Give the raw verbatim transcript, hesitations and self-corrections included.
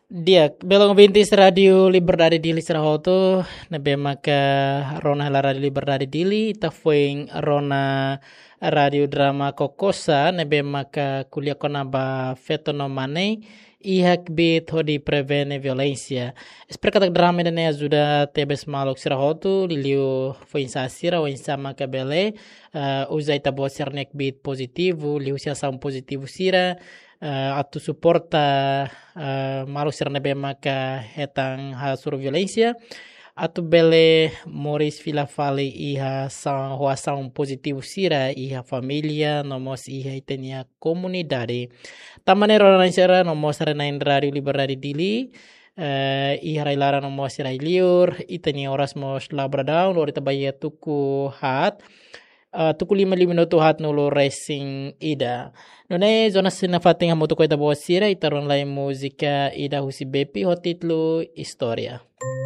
Di'ak, belun ouvintes Rádiu Liberdade Dili sira hotu, ne'ebé maka rona hela Rádiu Liberdade Dili, ita foin rona Rádiu Drama Kokosa, ne'ebé maka ko'alia kona-ba feto no mane, iha kbiit hodi prevene violénsia. Espera katak drama ida-ne'e ajuda tebes maluk sira hotu, liuliu foin-sa'e sira, oinsá maka bele, eh, uza ita-boot sira-nia kbiit pozitivu, liuhusi asaun pozitivu sira, eh, atu suporta, eh, maluk sira ne'ebé maka hetan hasoru violénsia, atu bele moris fila fali iha sa-, ho asaun pozitivu sira iha família, no mós iha ita-nia komunidade. Tanba ne'e rona-na'in sira no mós haree-na'in Rádiu Liberdade Dili, eh, iha rai-laran no mós iha rai-liur, ita-nia oras mós la bradau, lori ita ba iha tuku haat, eh, tuku lima liu minutu haatnulu resin ida. Nune'e, Jonas sira nafatin hamutuk ho ita-boot sira, ita rona lai múzika ida husi Bepi ho títulu Istória.